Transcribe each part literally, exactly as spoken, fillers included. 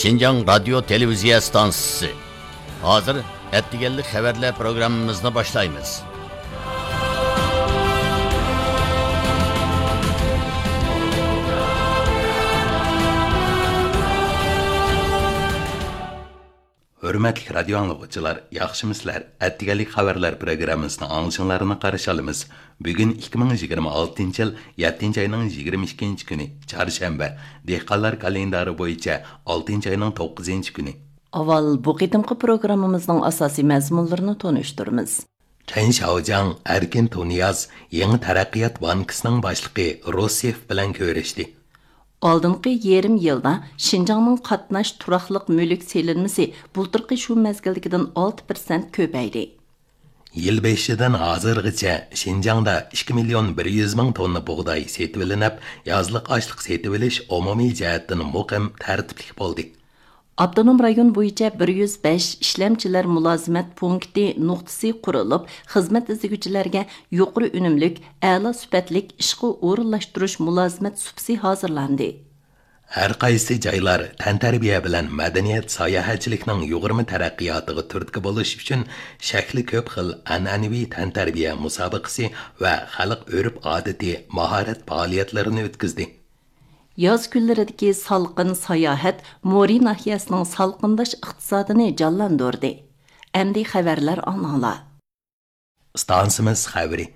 شىنجاڭ رادىيو تېلېۋىزىيە ئىستانسىسى. ھازىر ئەتىگەنلىك خەۋەرلەر پروگراممىمىزنى باشلايمىز. ھۆرمەتلىك رادىيو ئاڭلىغۇچىلار، ياخشىمۇسىلەر؟ ئەتىگەنلىك خەۋەرلەر پروگراممىسىنى ئاڭلىشىڭلارنى قارشى ئالىمىز. بۈگۈن ئىككى مىڭ يىگىرمە ئالتىنچى يىل يەتتىنچى ئاينىڭ يىگىرمە ئىككىنچى كۈنى، چارشەنبە، دېھقانلار كالېندارى بويىچە ئالتىنچى ئاينىڭ توققۇزىنچى كۈنى. ئاۋۋال بۇ قېتىمقى پروگراممىمىزنىڭ ئاساسىي مەزمۇنلىرىنى تونۇشتۇرىمىز. چېن شياۋجياڭ، ئەركىن تۇنىياز، يېڭى تەرەققىيات بانكىسىنىڭ باشلىقى روسيېف بىلەن كۆرۈشتى. ئالدىنقى يېرىم يىلدا شىنجاڭنىڭ قاتناش تۇراقلىق مۈلۈك سېلىنمىسى بۇلتۇرقى شۇ مەزگىلدىكىدىن ئالتە پىرسەنت كۆپەيدى. يىل بېشىدىن ھازىرغىچە شىنجاڭدا ئىككى مىليون بىر يۈز مىڭ توننا بۇغداي سېتىۋېلىنىپ، يازلىق ئاشلىق سېتىۋېلىش ئومۇمىي جەھەتتىن مۇقىم، تەرتىپلىك بولدى. ئاپتونوم رايون بويىچە بىر يۈز بەش ئىشلەمچىلەر مۇلازىمەت پونكىتى نۇقتىسى قۇرۇلۇپ، خىزمەت ئىزدىگۈچىلەرگە يۇقىرى ئۈنۈملۈك، ئەلا سۈپەتلىك ئىشقا ئورۇنلاشتۇرۇش مۇلازىمەت سۇپىسى ھازىرلاندى. ھەر قايسى جايلار تەنتەربىيە بىلەن مەدەنىيەت، ساياھەتچىلىكنىڭ يۇغۇرما تەرەققىياتىغا تۈرتكە بولۇش ئۈچۈن شەكلى كۆپ خىل ئەنئەنىۋى تەنتەربىيە مۇسابىقىسى ۋە خەلق ئۆرپ-ئادىتى، ماھارەت پائالىيەتلىرىنى ئۆتكۈزدى. ياز كۈنلىرىدىكى سالقىن ساياھەت مورى ناھىيەسىنىڭ سالقىنداش ئىقتىسادىنى جانلاندۇردى. ئەمدى خەۋەرلەر ئاڭلاڭلار. ئىستانسىمىز خەۋىرى.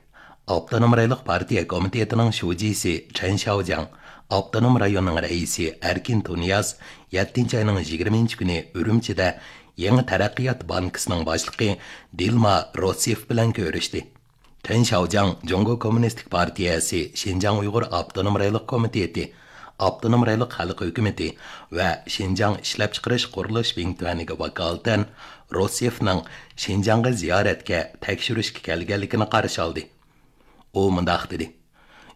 ئاپتونوم رايونلۇق پارتىيە كومىتېتىنىڭ شۇجىسى چېن شياۋجياڭ، ئاپتونوم رايوننىڭ رەئىسى ئەركىن تۇنىياز يەتتىنچى ئاينىڭ يىگىرمىنچى كۈنى ئۈرۈمچىدە يېڭى تەرەققىيات بانكىسىنىڭ باشلىقى دىلما روسيېف بىلەن كۆرۈشتى. چېن شياۋجياڭ جۇڭگو كوممۇنىستىك پارتىيەسى شىنجاڭ ئۇيغۇر ئاپتونوم رايونلۇق كومىتېتى، ئاپتونوم رايونلۇق خەلق ھۆكۈمىتى ۋە شىنجاڭ ئىشلەپچىقىرىش قۇرۇلۇش بىڭتۈەنىگە ۋاكالىتەن روسيېفنىڭ شىنجاڭغا زىيارەتكە، تەكشۈرۈشكە كەلگەنلىكىنى قارشى ئالدى. ئۇ مۇنداق دېدى: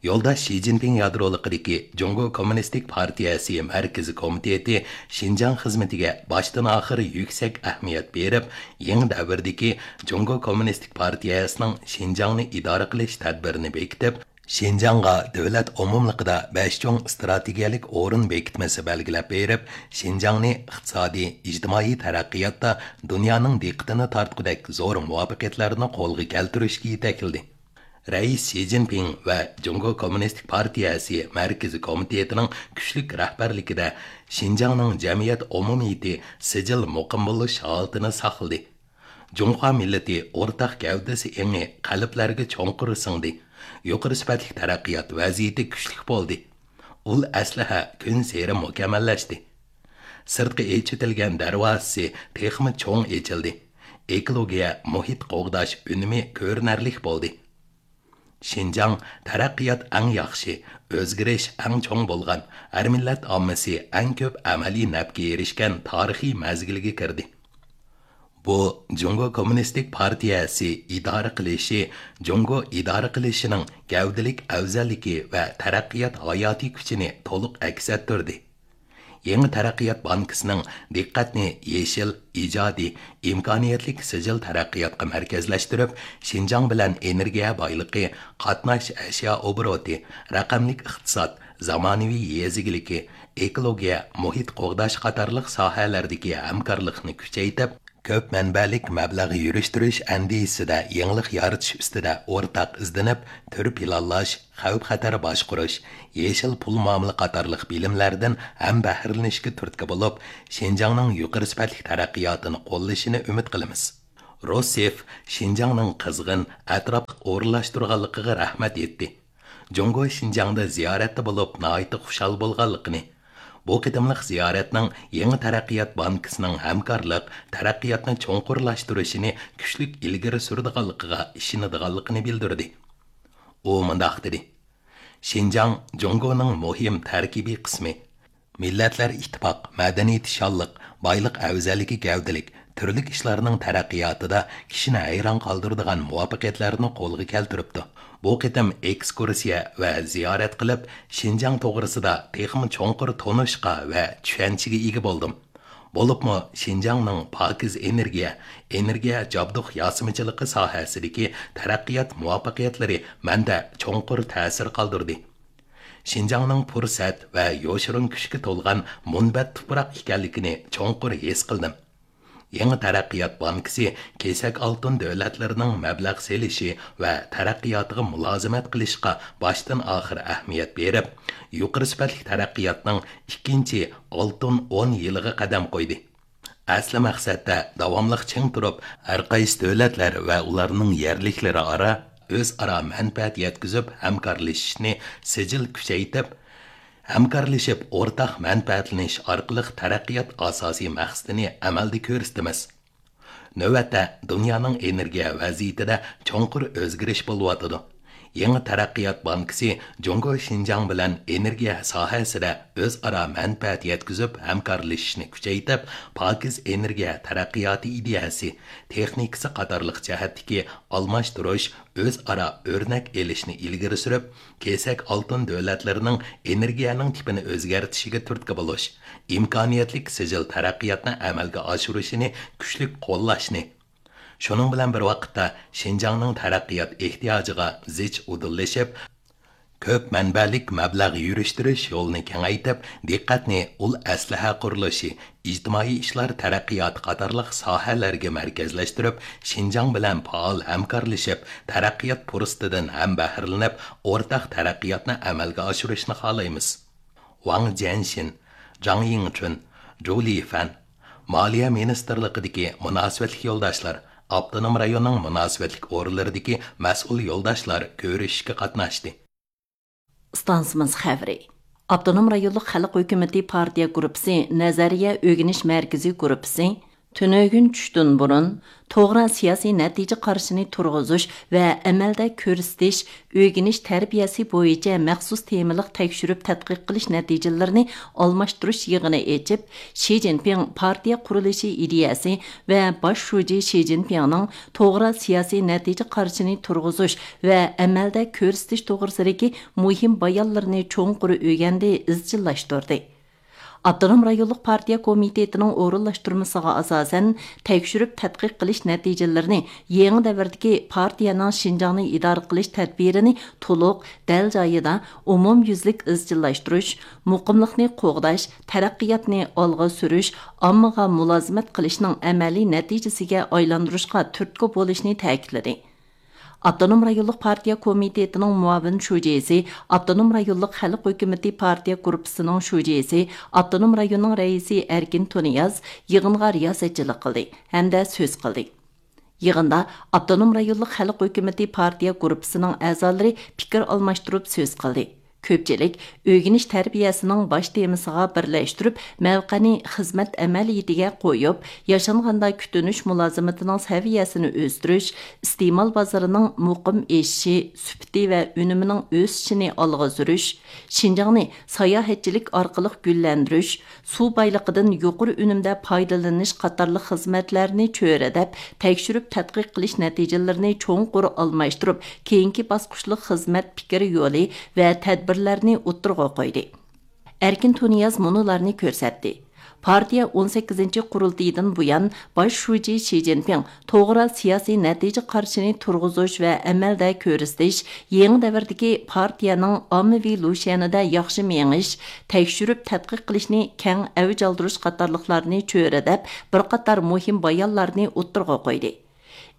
يولداش شى جىنپىڭ يادرولۇقىدىكى جۇڭگو كوممۇنىستىك پارتىيەسى مەركىزىي كومىتېتى شىنجاڭ خىزمىتىگە باشتىن ئاخىر يۈكسەك ئەھمىيەت بېرىپ، يېڭى دەۋردىكى جۇڭگو كوممۇنىستىك پارتىيەسىنىڭ شىنجاڭنى ئىدارە قىلىش تەدبىرىنى بېكىتىپ، شىنجاڭغا دۆلەت ئومۇملۇقىدا بەش چوڭ ئىستراتېگىيەلىك ئورۇن بېكىتمىسى بەلگىلەپ بېرىپ، شىنجاڭنى ئىقتىسادىي، ئىجتىمائىي تەرەققىياتتا دۇنيانىڭ دىققىتىنى تارتقۇدەك زور مۇۋەپپەقىيەتلەرنى قولغا كەلتۈرۈشكە يېتەكلىدى. رەئىس شى جىنپىڭ ۋە جۇڭگو كوممۇنىستىك پارتىيەسى مەركىزىي كومىتېتىنىڭ كۈچلۈك رەھبەرلىكىدە شىنجاڭنىڭ جەمئىيەت ئومۇمىيىتى سىجىل مۇقىم بولۇش ھالىتىنى ساقلىدى. جۇڭخۇا مىللىتى ئورتاق گەۋدىسى ئېڭى قەلبلەرگە چوڭقۇر سىڭدى. يۇقىرى سۈپەتلىك تەرەققىيات ۋەزىيىتى كۈچلۈك بولدى. ئۇل ئەسلىھە كۈنسېرى مۇكەممەللەشتى. سىرتقى ئېچىۋېتىلگەن دەرۋازىسى تېخىمۇ چوڭ ئېچىلدى. ئېكولوگىيە، مۇھىت قوغداش ئۈنۈمى كۆرۈنەرلىك بولدى. شىنجاڭ تەرەققىيات ئەڭ ياخشى، ئۆزگىرىش ئەڭ چوڭ بولغان، ھەر مىللەت ئاممىسى ئەڭ كۆپ ئەمەلىي نەپكە ئېرىشكەن تارىخىي مەزگىلگە كىردى. بۇ، جۇڭگو كوممۇنىستىك پارتىيەسى ئىدارە قىلىشى، جۇڭگو ئىدارە قىلىشىنىڭ گەۋدىلىك ئەۋزەللىكى ۋە تەرەققىيات ھاياتىي كۈچىنى تولۇق ئەكس ئەتتۈردى. يېڭى تەرەققىيات بانكىسىنىڭ دىققەتنى يېشىل، ئىجادىي، ئىمكانىيەتلىك سىجىل تەرەققىياتقا مەركەزلەشتۈرۈپ، شىنجاڭ بىلەن ئېنېرگىيە بايلىقى، قاتناش ئەشيا ئوبوروتى، رەقەملىك ئىقتىساد، زامانىۋى يېزا ئىگىلىكى، ئېكولوگىيە، مۇھىت قوغداش قاتارلىق ساھەلەردىكى ھەمكارلىقنى كۈچەيتىپ، كۆپ مەنبەلىك مەبلەغ يۈرۈشتۈرۈش ئەندىزىسىدە يېڭىلىق يارىتىش ئۈستىدە ئورتاق ئىزدىنىپ، تۈر پىلانلاش، خەۋپ-خەتەر باشقۇرۇش، يېشىل پۇل مۇئامىلە قاتارلىق بىلىملەردىن ھەمبەھىرىلىنىشكە تۈرتكە بولۇپ، شىنجاڭنىڭ يۇقىرى سۈپەتلىك تەرەققىياتىنى قوللىشىنى ئۈمىد قىلىمىز. روسيېف شىنجاڭنىڭ قىزغىن، ئەتراپلىق ئورۇنلاشتۇرغانلىقىغا رەھمەت ئېيتتى. جۇڭگو شىنجاڭدا زىيارەتتە بولۇپ ناھايىتى خۇشال بولغانلىقىنى، بۇ قېتىملىق زىيارەتنىڭ يېڭى تەرەققىيات بانكىسىنىڭ ھەمكارلىق، تەرەققىياتنى چوڭقۇرلاشتۇرۇشىنى كۈچلۈك ئىلگىرى سۈرىدىغانلىقىغا ئىشىنىدىغانلىقىنى بىلدۈردى. ئۇ مۇنداق دېدى: شىنجاڭ جۇڭگونىڭ مۇھىم تەركىبىي قىسمى. مىللەتلەر ئىتتىپاق، مەدەنىيىتى شانلىق، بايلىق ئەۋزەللىكى گەۋدىلىك، تۈرلۈك ئىشلارنىڭ تەرەققىياتىدا كىشىنى ھەيران قالدۇرىدىغان مۇۋەپپەقىيەتلەرنى قولغا كەلتۈرۈپتۇ. بۇ قېتىم ئېكسكۇرسىيە ۋە زىيارەت قىلىپ، شىنجاڭ توغرىسىدا تېخىمۇ چوڭقۇر تونۇشقا ۋە چۈشەنچىگە ئىگە بولدۇم. بولۇپمۇ شىنجاڭنىڭ پاكىز ئېنېرگىيە، ئېنېرگىيە جابدۇق ياسىمىچىلىقى ساھەسىدىكى تەرەققىيات مۇۋەپپەقىيەتلىرى مەندە چوڭقۇر تەسىر قالدۇردى. شىنجاڭنىڭ پۇرسەت ۋە يوشۇرۇن كۈچكە تولغان مۇنبەت تۇپراق ئىكەنلىكىنى چوڭقۇر ھېس قىلدىم. يېڭى تەرەققىيات بانكىسى كېسەك ئالتۇن دۆلەتلىرىنىڭ مەبلەغ سېلىشى ۋە تەرەققىياتىغا مۇلازىمەت قىلىشقا باشتىن ئاخىر ئەھمىيەت بېرىپ، يۇقىرى سۈپەتلىك تەرەققىياتنىڭ ئىككىنچى ئالتۇن ئون يىلىغا قەدەم قويدى. ئەسلى مەقسەتتە داۋاملىق چىڭ تۇرۇپ، ھەر قايسى دۆلەتلەر ۋە ئۇلارنىڭ يەرلىكلىرى ئارا ئۆزئارا مەنپەئەت يەتكۈزۈپ ھەمكارلىشىشنى سىجىل كۈچەيتىپ، ھەمكارلىشىپ ئورتاق مەنپەئەتلىنىش ئارقىلىق تەرەققىيات ئاساسىي مەقسىتىنى ئەمەلدە كۆرسىتىمىز. نۆۋەتتە دۇنيانىڭ ئېنېرگىيە ۋەزىيىتىدە چوڭقۇر ئۆزگىرىش بولۇۋاتىدۇ. يېڭى تەرەققىيات بانكىسى جۇڭگو شىنجاڭ بىلەن ئېنېرگىيە ساھەسىدە ئۆزئارا مەنپەئەت يەتكۈزۈپ ھەمكارلىشىشنى كۈچەيتىپ، پاكىز ئېنېرگىيە تەرەققىياتى ئىدىيەسى، تېخنىكىسى قاتارلىق جەھەتتىكى ئالماشتۇرۇش، ئۆزئارا ئۆرنەك ئېلىشنى ئىلگىرى سۈرۈپ، كېسەك ئالتۇن دۆلەتلىرىنىڭ ئېنېرگىيەنىڭ تىپىنى ئۆزگەرتىشىگە تۈرتكە بولۇش، ئىمكانىيەتلىك سىجىل تەرەققىياتنى ئەمەلگە ئاشۇرۇشىنى كۈچلۈك قوللاشنى، شۇنىڭ بىلەن بىر ۋاقىتتا، شىنجاڭنىڭ تەرەققىيات ئېھتىياجىغا زىچ ئۇدۇللىشىپ، كۆپ مەنبەلىك مەبلەغ يۈرۈشتۈرۈش يولىنى كېڭەيتىپ، دىققەتنى ئۇل ئەسلىھە قۇرۇلۇشى، ئىجتىمائىي ئىشلار تەرەققىياتى قاتارلىق ساھەلەرگە مەركەزلەشتۈرۈپ، شىنجاڭ بىلەن پائال ھەمكارلىشىپ، تەرەققىيات پۇرسىتىدىن ھەمبەھرىلىنىپ، ئورتاق تەرەققىياتنى ئەمەلگە ئاشۇرۇشنى خالايمىز. ۋاڭ جيەنشىن، جاڭ يىڭچۈن، جۇ لىفەن، مالىيە مىنىستىرلىقىدىكى مۇناسىۋەتلىك يولداشلار، ئاپتونوم رايوننىڭ مۇناسىۋەتلىك ئورۇنلىرىدىكى مەسئۇل يولداشلار كۆرۈشۈشكە قاتناشتى. ئىستانسىمىز خەۋىرى. ئاپتونوم رايونلۇق خەلق ھۆكۈمىتى پارتىيە گۇرۇپپىسى نەزەرىيە ئۆگىنىش مەركىزى گۇرۇپپىسى تۈنۈگۈن چۈشتىن بۇرۇن توغرا سىياسىي نەتىجە قارىشىنى تۇرغۇزۇش ۋە ئەمەلدە كۆرسىتىش ئۆگىنىش تەربىيەسى بويىچە مەخسۇس تېمىلىق تەكشۈرۈپ تەتقىق قىلىش نەتىجىلىرىنى ئالماشتۇرۇش يىغىنى ئېچىپ، شى جىنپىڭ پارتىيە قۇرۇلۇشى ئىدىيەسى ۋە باش شۇجى شى جىنپىڭنىڭ توغرا سىياسىي نەتىجە قارىشىنى تۇرغۇزۇش ۋە ئەمەلدە كۆرسىتىش توغرىسىدىكى مۇھىم بايانلىرىنى چوڭقۇر ئۆگەندى، ئىزچىللاشتۇردى. ئاپتونوم رايونلۇق پارتىيە كومىتېتىنىڭ ئورۇنلاشتۇرمىسىغا ئاساسەن، تەكشۈرۈپ تەتقىق قىلىش نەتىجىلىرىنى يېڭى دەۋردىكى پارتىيەنىڭ شىنجاڭنى ئىدارە قىلىش تەدبىرىنى تولۇق، دەل جايىدا، ئومۇميۈزلۈك ئىزچىللاشتۇرۇش، مۇقىملىقنى قوغداش، تەرەققىياتنى ئالغا سۈرۈش، ئاممىغا مۇلازىمەت قىلىشنىڭ ئەمەلىي نەتىجىسىگە ئايلاندۇرۇشقا تۈرتكە بولۇشنى تەكىتلىدى. ئاپتونوم رايونلۇق پارتىيە كومىتېتىنىڭ مۇئاۋىن شۇجىسى، ئاپتونوم رايونلۇق خەلق ھۆكۈمىتى پارتىيە گۇرۇپپىسىنىڭ شۇجىسى، ئاپتونوم رايوننىڭ رەئىسى ئەركىن تۇنىياز يىغىنغا رىياسەتچىلىك قىلدى ھەمدە سۆز قىلدى. يىغىندا ئاپتونوم رايونلۇق خەلق ھۆكۈمىتى پارتىيە گۇرۇپپىسىنىڭ ئەزالىرى پىكىر ئالماشتۇرۇپ سۆز قىلدى. كۆپچىلىك ئۆگىنىش تەربىيەسىنىڭ باش تېمىسىغا بىرلەشتۈرۈپ، مەۋقەنى خىزمەت ئەمەلىيىتىگە قويۇپ، ياشانغاندا كۈتۈنۈش مۇلازىمىتىنىڭ سەۋىيەسىنى ئۆستۈرۈش، ئىستېمال بازىرىنىڭ مۇقىم ئېشىشى، سۈپىتى ۋە ئۈنۈمىنىڭ ئۆسۈشىنى ئالغا سۈرۈش، شىنجاڭنى ساياھەتچىلىك ئارقىلىق گۈللەندۈرۈش، سۇ بايلىقىدىن يۇقىرى ئۈنۈمدە پايدىلىنىش قاتارلىق خىزمەتلەرنى چۆرىدەپ، تەكشۈرۈپ تەتقىق قىلىش نەتىجىلىرىنى چوڭقۇر ئالماشتۇرۇپ، كېيىنكى باسقۇچلۇق خىزمەت پىكىر يولى ۋە تەدبىرلەرنى ئوتتۇرىغا قويدى. ئەركىن تۇنىياز مۇنۇلارنى كۆرسەتتى. پارتىيە ئون سەككىزىنچى قۇرۇلتىيىدىن بۇيان، باش شۇجى شى جىنپىڭ توغرا سىياسىي نەتىجە قارىشىنى تۇرغۇزۇش ۋە ئەمەلدە كۆرسىتىش، يېڭى دەۋردىكى پارتىيەنىڭ ئاممىۋى لۇشيەنىدە ياخشى مېڭىش، تەكشۈرۈپ تەتقىق قىلىشنى كەڭ ئەۋج ئالدۇرۇش قاتارلىقلارنى چۆرىدەپ، بىر قاتار مۇھىم بايانلارنى ئوتتۇرىغا قويدى.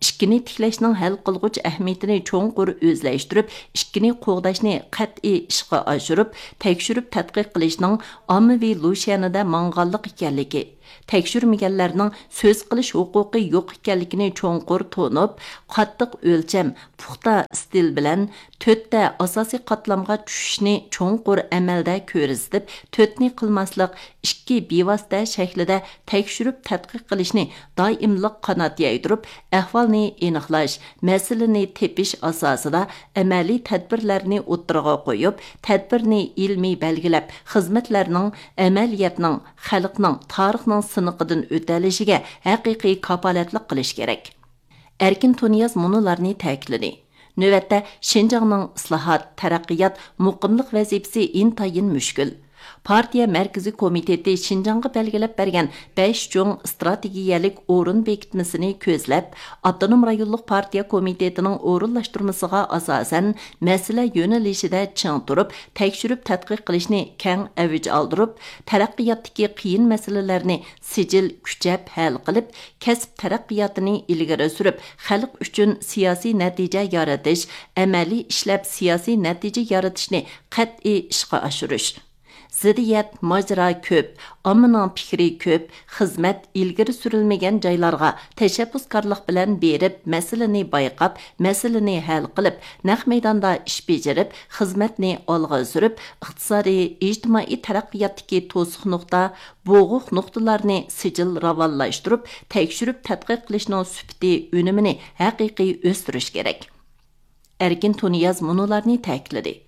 ئىككىنى تىكلەشنىڭ ھەل قىلغۇچ ئەھمىيىتىنى چوڭقۇر ئۆزلەشتۈرۈپ، ئىككىنى قوغداشنى قەتئىي ئىشقا ئاشۇرۇپ، تەكشۈرۈپ تەتقىق قىلىشنىڭ ئاممىۋى لۇشيەنىدە ماڭغانلىق ئىكەنلىكى، تەكشۈرمىگەنلەرنىڭ سۆز قىلىش ھوقۇقى يوق ئىكەنلىكىنى چوڭقۇر تونۇپ، قاتتىق ئۆلچەم، پۇختا ئىستىل بىلەن تۆتتە ئاساسىي قاتلامغا چۈشۈشنى چوڭقۇر ئەمەلدە كۆرسىتىپ، تۆتنى قىلماسلىق، ئىككى بىۋاسىتە شەكلىدە تەكشۈرۈپ تەتقىق قىلىشنى دائىملىق قانات يايدۇرۇپ، ئەھۋالنى ئېنىقلاش، مەسىلىنى تېپىش ئاساسىدا ئەمەلىي تەدبىرلەرنى ئوتتۇرىغا قويۇپ، تەدبىرنى ئىلمىي بەلگىلەپ، خىزمەتلەرنىڭ ئەمەلىيەتنىڭ، خەلقنىڭ، تارىخنىڭ سىنىقىدىن ئۆتەلىشىگە ھەقىقىي كاپالەتلىك قىلىش كېرەك. ئەركىن تۇنىياز مۇنۇلارنى تەكىتلىدى. نۆۋەتتە شىنجاڭنىڭ ئىسلاھات، تەرەققىيات، مۇقىملىق ۋەزىپىسى ئىنتايىن مۈشكۈل. پارتىيە مەركىزىي كومىتېتى شىنجاڭغا بەلگىلەپ بەرگەن بەش چوڭ ئىستراتېگىيەلىك ئورۇن بېكىتمىسىنى كۆزلەپ، ئاپتونوم رايونلۇق پارتىيە كومىتېتىنىڭ ئورۇنلاشتۇرمىسىغا ئاساسەن، مەسىلە يۆنىلىشىدە چىڭ تۇرۇپ، تەكشۈرۈپ تەتقىق قىلىشنى كەڭ ئەۋج ئالدۇرۇپ، تەرەققىياتتىكى قىيىن مەسىلىلەرنى سىجىل كۈچەپ ھەل قىلىپ، كەسىپ تەرەققىياتىنى ئىلگىرى سۈرۈپ، خەلق ئۈچۈن سىياسىي نەتىجە يارىتىش، ئەمەلىي ئىشلەپ سىياسىي نەتىجە يارىتىشنى قەتئىي ئىشقا ئاشۇرۇش. زىددىيەت، ماجىرا كۆپ، ئاممىنىڭ پىكرى كۆپ، خىزمەت ئىلگىرى سۈرۈلمىگەن جايلارغا تەشەببۇسكارلىق بىلەن بېرىپ، مەسىلىنى بايقاپ، مەسىلىنى ھەل قىلىپ، نەق مەيداندا ئىش بېجىرىپ، خىزمەتنى ئالغا سۈرۈپ، ئىقتىسادىي، ئىجتىمائىي تەرەققىياتتىكى توسۇق نۇقتا، بوغۇق نۇقتىلارنى سىجىل راۋانلاشتۇرۇپ، تەكشۈرۈپ تەتقىق قىلىشنىڭ سۈپىتى، ئۈنۈمىنى ھەقىقىي ئۆستۈرۈش كېرەك. ئەركىن تۇنىياز مۇنۇلارنى تەكىتلىدى: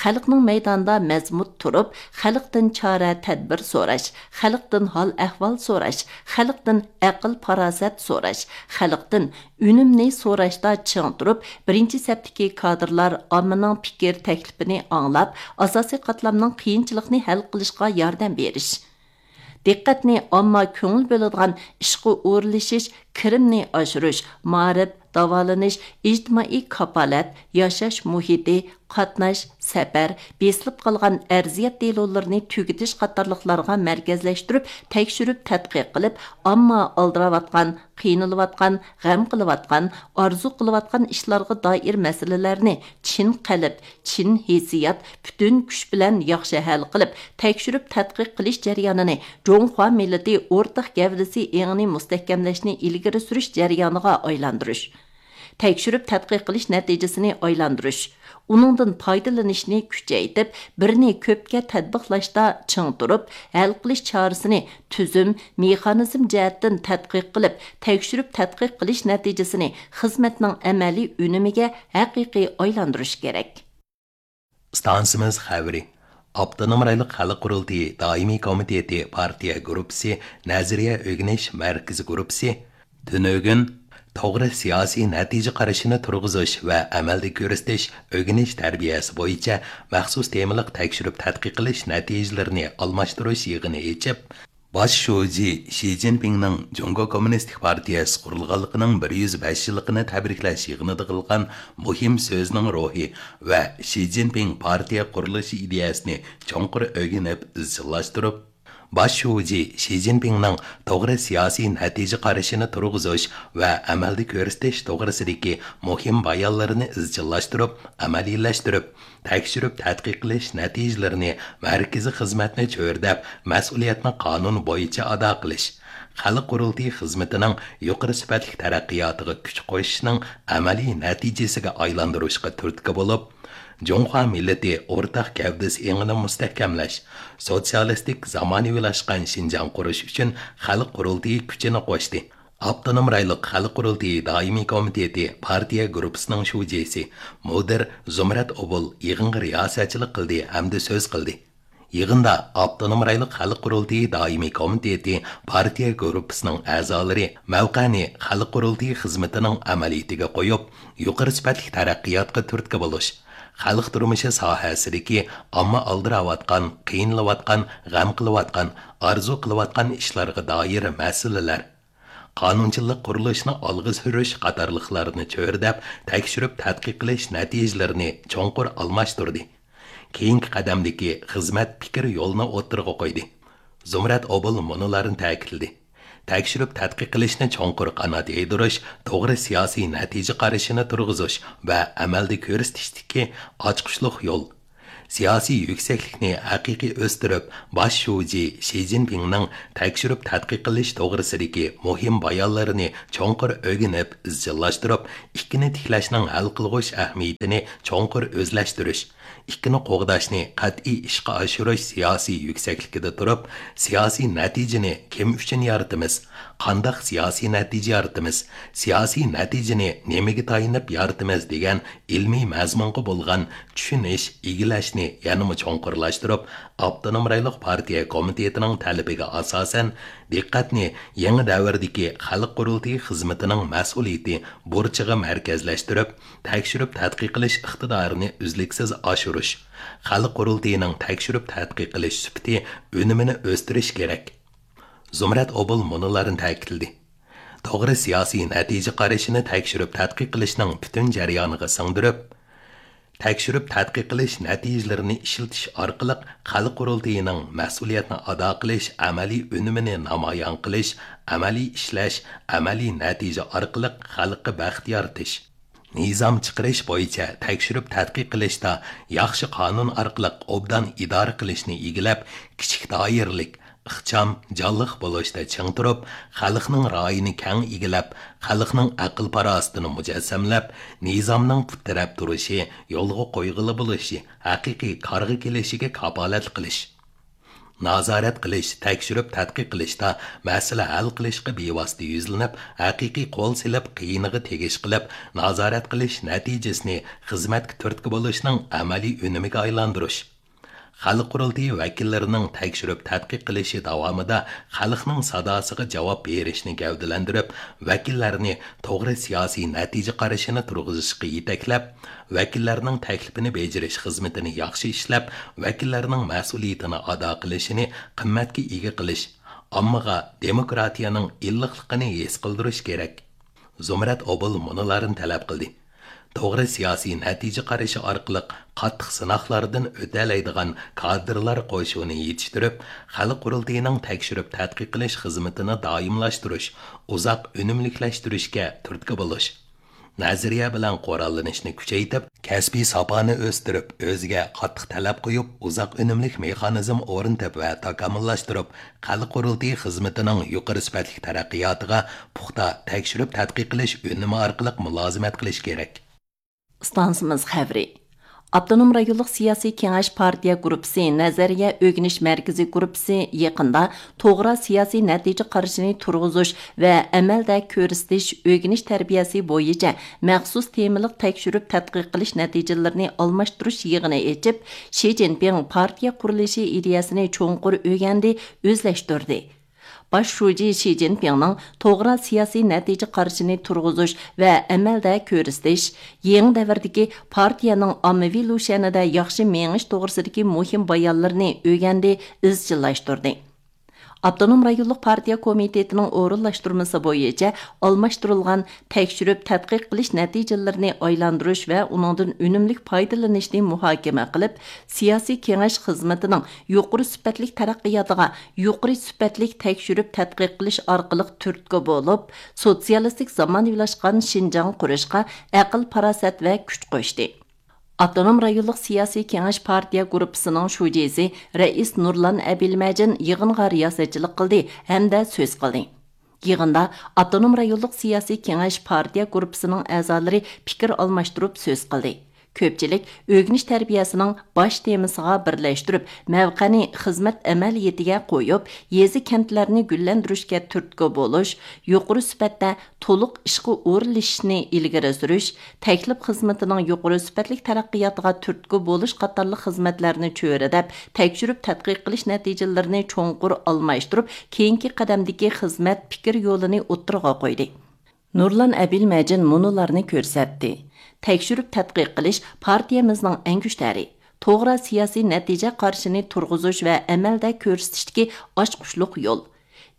خەلقنىڭ مەيداندا مەزمۇت تۇرۇپ، خەلقتىن چارە تەدبىر سوراش، خەلقتىن ھال ئەھۋال سوراش، خەلقتىن ئەقىل پاراسەت سوراش، خەلقتىن ئۈنۈمنى سوراشتا چىڭ تۇرۇپ، بىرىنچى سەپتىكى كادىرلار ئاممىنىڭ پىكىر تەكلىپىنى ئاڭلاپ، ئاساسىي قاتلامنىڭ قىيىنچىلىقنى ھەل قىلىشقا ياردەم بېرىش. دىققەتنى ئامما كۆڭۈل بۆلىدىغان ئىشقا ئورۇنلىشىش، كىرىمنى ئاشۇرۇش، مائارىپ، داۋالىنىش، ئىجتىمائىي كاپالەت، ياشاش مۇھىتى، قاتناش، سەپەر، بېسىلىپ قالغان ئەرزىيەت دېلولىرىنى تۈگىتىش قاتارلىقلارغا مەركەزلەشتۈرۈپ، تەكشۈرۈپ تەتقىق قىلىپ، ئامما ئالدىراۋاتقان، قىينىلىۋاتقان، غەم قىلىۋاتقان، ئارزۇ قىلىۋاتقان ئىشلارغا دائىر مەسىلىلەرنى چىن قەلب، چىن ھېسسىيات، پۈتۈن كۈچ بىلەن ياخشى ھەل قىلىپ، تەكشۈرۈپ تەتقىق قىلىش جەريانىنى جۇڭخۇا مىللىتى ئورتاق گەۋدىسى ئېڭىنى مۇستەھكەملەشنى ئىلگىرى سۈرۈش جەريانىغا ئايلاندۇرۇش. تەكشۈرۈپ تەتقىق قىلىش نەتىجىسىنى ئايلاندۇرۇش، ئۇنىڭدىن پايدىلىنىشنى كۈچەيتىپ، بىرنى كۆپكە تەتبىقلاشتا چىڭ تۇرۇپ، ھەل قىلىش چارىسىنى تۈزۈم، مېخانىزم جەھەتتىن تەتقىق قىلىپ، تەكشۈرۈپ تەتقىق قىلىش نەتىجىسىنى خىزمەتنىڭ ئەمەلىي ئۈنۈمىگە ھەقىقىي ئايلاندۇرۇش كېرەك. ئىستانسىمىز خەۋىرى. ئاپتونوم رايونلۇق خەلق قۇرۇلتىيى دائىمىي كومىتېتى پارتىيە گۇرۇپپىسى نەزەرىيە ئۆگىنىش مەركىزى گۇرۇپپىسى تۈنۈگۈن توغرا سىياسىي نەتىجە قارىشىنى تۇرغۇزۇش ۋە ئەمەلدە كۆرسىتىش ئۆگىنىش تەربىيەسى بويىچە مەخسۇس تېمىلىق تەكشۈرۈپ تەتقىق قىلىش نەتىجىلىرىنى ئالماشتۇرۇش يىغىنى ئېچىپ، باش شۇجى شى جىنپىڭنىڭ جۇڭگو كوممۇنىستىك پارتىيەسى قۇرۇلغانلىقىنىڭ بىر يۈز بەش يىللىقىنى تەبرىكلەش يىغىنىدا قىلغان مۇھىم سۆزىنىڭ روھى ۋە شى جىنپىڭ پارتىيە قۇرۇلۇشى ئىدىيەسىنى چوڭقۇر ئۆگىنىپ ئىزچىللاشتۇرۇپ، باش شۇجى شى جىنپىڭنىڭ توغرا سىياسىي نەتىجە قارىشىنى تۇرغۇزۇش ۋە ئەمەلدە كۆرسىتىش توغرىسىدىكى مۇھىم بايانلىرىنى ئىزچىللاشتۇرۇپ، ئەمەلىيلەشتۈرۈپ، تەكشۈرۈپ تەتقىق قىلىش نەتىجىلىرىنى مەركىزىي خىزمەتنى چۆرىدەپ، مەسئۇلىيەتنى قانۇن بويىچە ئادا قىلىش، خەلق قۇرۇلتىيى خىزمىتىنىڭ يۇقىرى سۈپەتلىك تەرەققىياتىغا كۈچ قوشۇشنىڭ ئەمەلىي نەتىجىسىگە ئايلاندۇرۇشقا تۈرتكە بولۇپ، جۇڭخۇا مىللىتى ئورتاق گەۋدىسى ئېڭىنى مۇستەھكەملەش، سوتسىيالىستىك زامانىۋىلاشقان شىنجاڭ قۇرۇش ئۈچۈن خەلق قۇرۇلتىيى كۈچىنى قوشتى. ئاپتونوم رايونلۇق خەلق قۇرۇلتىيى دائىمىي كومىتېتى پارتىيە گۇرۇپپىسىنىڭ شۇجىسى، مۇدىر زۇمرەت ئوبۇل يىغىنغا رىياسەتچىلىك قىلدى ھەمدە سۆز قىلدى. يىغىندا ئاپتونوم رايونلۇق خەلق قۇرۇلتىيى دائىمىي كومىتېتى پارتىيە گۇرۇپپىسىنىڭ ئەزالىرى مەۋقەنى خەلق قۇرۇلتىيى خىزمىتىنىڭ ئەمەلىيىتىگە قويۇپ، يۇقىرى سۈپەتلىك تەرەققىياتقا تۈرتكە بولۇش، خەلق تۇرمۇشى ساھەسىدىكى ئامما ئالدىراۋاتقان، قىينىلىۋاتقان، غەم قىلىۋاتقان، ئارزۇ قىلىۋاتقان ئىشلارغا دائىر مەسىلىلەر، قانۇنچىلىق قۇرۇلۇشىنى ئالغا سۈرۈش قاتارلىقلارنى چۆرىدەپ، تەكشۈرۈپ تەتقىق قىلىش نەتىجىلىرىنى چوڭقۇر ئالماشتۇردى. كېيىنكى قەدەمدىكى خىزمەت پىكىر يولىنى ئوتتۇرىغا قويدى. زۇمرەت ئوبۇل مۇنۇلارنى تەكىتلىدى: تەكشۈرۈپ تەتقىق قىلىشنى چوڭقۇر قانات يايدۇرۇش، توغرا سىياسىي نەتىجە قارىشىنى تۇرغۇزۇش ۋە ئەمەلدە كۆرسىتىشتىكى ئاچقۇچلۇق يول، سىياسىي يۈكسەكلىكنى ھەقىقىي ئۆستۈرۈپ، باش شۇجى شى جىنپىڭنىڭ تەكشۈرۈپ تەتقىق قىلىش توغرىسىدىكى مۇھىم بايانلىرىنى چوڭقۇر ئۆگىنىپ، ئىزچىللاشتۇرۇپ، ئىككىنى تىكلەشنىڭ ھەل قىلغۇچ ئەھمىيىتىنى چوڭقۇر ئۆزلەشتۈرۈش، ئىككىنى قوغداشنى قەتئىي ئىشقا ئاشۇرۇش سىياسىي يۈكسەكلىكىدە تۇرۇپ، سىياسىي نەتىجىنى كىم ئۈچۈن يارىتىمىز، قانداق سىياسىي نەتىجە يارىتىمىز، سىياسىي نەتىجىنى نېمىگە تايىنىپ يارىتىمىز دېگەن ئىلمىي مەزمۇنغا بولغان چۈشىنىش، ئىگىلەشنى يەنىمۇ چوڭقۇرلاشتۇرۇپ، ئاپتونوم رايونلۇق پارتىيە كومىتېتىنىڭ تەلىپىگە ئاساسەن، دىققەتنى يېڭى دەۋردىكى خەلق قۇرۇلتىيى خىزمىتىنىڭ مەسئۇلىيىتى بۇرچىغا مەركەزلەشتۈرۈپ، تەكشۈرۈپ تەتقىق قىلىش ئىقتىدارىنى ئۈزلۈكسىز ئاشۇرۇش، خەلق قۇرۇلتىيىنىڭ تەكشۈرۈپ تەتقىق قىلىش سۈپىتى، ئۈنۈمىنى ئۆستۈرۈش كېرەك. زۇمرەت ئوبۇل مۇنۇلارنى تەكىتلىدى. توغرا سىياسىي نەتىجە قارىشىنى تەكشۈرۈپ تەتقىق قىلىشنىڭ پۈتۈن جەريانىغا سىڭدۈرۈپ، تەكشۈرۈپ تەتقىق قىلىش نەتىجىلىرىنى ئىشلىتىش ئارقىلىق خەلق قۇرۇلتىيىنىڭ مەسئۇلىيەتنى ئادا قىلىش ئەمەلىي ئۈنۈمىنى نامايان قىلىش، ئەمەلىي ئىشلەش، ئەمەلىي نەتىجە ئارقىلىق خەلققە بەخت يارىتىش، نىزام چىقىرىش بويىچە تەكشۈرۈپ تەتقىق قىلىشتا ياخشى قانۇن ئارقىلىق ئوبدان ئىدارە قىلىشنى ئىگىلەپ، كىچىك دائىرىلىك، ئىخچام، جانلىق بولۇشتا چىڭ تۇرۇپ، خەلقنىڭ رايىنى كەڭ ئىگىلەپ، خەلقنىڭ ئەقىل-پاراسىتىنى مۇجەسسەملەپ، نىزامنىڭ پۇت تىرەپ تۇرۇشى، يولغا قويغىلى بولۇشى، ھەقىقىي كارغا كېلىشىگە كاپالەتلىك قىلىش. نازارەت قىلىش، تەكشۈرۈپ تەتقىق قىلىشتا مەسىلە ھەل قىلىشقا بىۋاسىتە يۈزلىنىپ، ھەقىقىي قول سېلىپ، قىيىنىغا تېگىش قىلىپ، نازارەت قىلىش نەتىجىسىنى خىزمەتكە تۈرتكە بولۇشنىڭ ئەمەلىي ئۈنۈمىگە ئايلاندۇرۇش. خەلق قۇرۇلتىيى ۋەكىللىرىنىڭ تەكشۈرۈپ تەتقىق قىلىشى داۋامىدا خەلقنىڭ ساداسىغا جاۋاب بېرىشنى گەۋدىلەندۈرۈپ، ۋەكىللەرنى توغرا سىياسىي نەتىجە قارىشىنى تۇرغۇزۇشقا يېتەكلەپ، ۋەكىللەرنىڭ تەكلىپىنى بېجىرىش خىزمىتىنى ياخشى ئىشلەپ، ۋەكىللەرنىڭ مەسئۇلىيىتىنى ئادا قىلىشىنى قىممەتكە ئىگە قىلىش، ئاممىغا دېموكراتىيەنىڭ ئىللىقلىقىنى ھېس قىلدۇرۇش كېرەك. زۇمرەت ئوبۇل مۇنۇلارنى تەلەپ قىلدى. توغرا سىياسىي نەتىجە قارىشى ئارقىلىق قاتتىق سىناقلاردىن ئۆتەلەيدىغان كادىرلار قوشۇنى يېتىشتۈرۈپ، خەلق قۇرۇلتىيىنىڭ تەكشۈرۈپ تەتقىق قىلىش خىزمىتىنى دائىملاشتۇرۇش، ئۇزاق ئۈنۈملۈكلەشتۈرۈشكە تۈرتكە بولۇش. نەزەرىيە بىلەن قوراللىنىشنى كۈچەيتىپ، كەسپىي ساپانى ئۆستۈرۈپ، ئۆزىگە قاتتىق تەلەپ قويۇپ، ئۇزاق ئۈنۈملۈك مېخانىزم ئورنىتىپ ۋە تاكامۇللاشتۇرۇپ، خەلق قۇرۇلتىيى خىزمىتىنىڭ يۇقىرى سۈپەتلىك تەرەققىياتىغا پۇختا تەكشۈرۈپ تەتقىق قىلىش ئۈنۈمى ئارقىلىق مۇلازىمەت قىلىش كېرەك. ئىستانسىمىز خەۋىرى. ئاپتونوم رايونلۇق سىياسىي كېڭەش پارتىيە گۇرۇپپىسى نەزەرىيە ئۆگىنىش مەركىزى گۇرۇپپىسى يېقىندا توغرا سىياسىي نەتىجە قارىشىنى تۇرغۇزۇش ۋە ئەمەلدە كۆرسىتىش ئۆگىنىش تەربىيەسى بويىچە مەخسۇس تېمىلىق تەكشۈرۈپ تەتقىق قىلىش نەتىجىلىرىنى ئالماشتۇرۇش يىغىنى ئېچىپ، شى جىنپىڭ پارتىيە قۇرۇلۇشى ئىدىيەسىنى چوڭقۇر ئۆگەندى، ئۆزلەشتۈردى. باش شۇجى شى جىنپىڭنىڭ توغرا سىياسىي نەتىجە قارىشىنى تۇرغۇزۇش ۋە ئەمەلدە كۆرسىتىش، يېڭى دەۋردىكى پارتىيەنىڭ ئاممىۋى لۇشيەنىدە ياخشى مېڭىش توغرىسىدىكى مۇھىم بايانلىرىنى ئۆگەندى، ئىزچىللاشتۇردى. ئاپتونوم رايونلۇق پارتىيە كومىتېتىنىڭ ئورۇنلاشتۇرمىسى بويىچە ئالماشتۇرۇلغان تەكشۈرۈپ تەتقىق قىلىش نەتىجىلىرىنى ئايلاندۇرۇش ۋە ئۇنىڭدىن ئۈنۈملۈك پايدىلىنىشنى مۇھاكىمە قىلىپ، سىياسىي كېڭەش خىزمىتىنىڭ يۇقىرى سۈپەتلىك تەرەققىياتىغا يۇقىرى سۈپەتلىك تەكشۈرۈپ تەتقىق قىلىش ئارقىلىق تۈرتكە بولۇپ، سوتسىيالىستىك زامانىۋىلاشقان شىنجاڭ قۇرۇشقا ئەقىل-پاراسەت ۋە كۈچ قوشتى. ئاپتونوم رايونلۇق سىياسىي كېڭەش پارتىيە گۇرۇپپىسىنىڭ شۇجىسى رەئىس نۇرلان ئەبىلمەجىن يىغىنغا رىياسەتچىلىك قىلدى ھەمدە سۆز قىلدى. يىغىندا ئاپتونوم رايونلۇق سىياسىي كېڭەش پارتىيە گۇرۇپپىسىنىڭ ئەزالىرى پىكىر ئالماشتۇرۇپ سۆز قىلدى. كۆپچىلىك ئۆگىنىش تەربىيەسىنىڭ باش تېمىسىغا بىرلەشتۈرۈپ، مەۋقەنى خىزمەت ئەمەلىيىتىگە قويۇپ، يېزا كەنتلەرنى گۈللەندۈرۈشكە تۈرتكە بولۇش، يۇقىرى سۈپەتتە تولۇق ئىشقا ئورۇنلىشىشنى ئىلگىرى سۈرۈش، تەكلىپ خىزمىتىنىڭ يۇقىرى سۈپەتلىك تەرەققىياتىغا تۈرتكە بولۇش قاتارلىق خىزمەتلەرنى چۆرىدەپ، تەكشۈرۈپ تەتقىق قىلىش نەتىجىلىرىنى چوڭقۇر ئالماشتۇرۇپ، كېيىنكى قەدەمدىكى خىزمەت پىكىر يولىنى ئوتتۇرىغا قويدى. نۇرلان ئەبىلمەجىن مۇنۇلارنى كۆرسەتتى. تەكشۈرۈپ تەتقىق قىلىش پارتىيەمىزنىڭ ئەڭگۈشتەرى، توغرا سىياسىي نەتىجە قارىشىنى تۇرغۇزۇش ۋە ئەمەلدە كۆرسىتىشتىكى ئاچقۇچلۇق يول.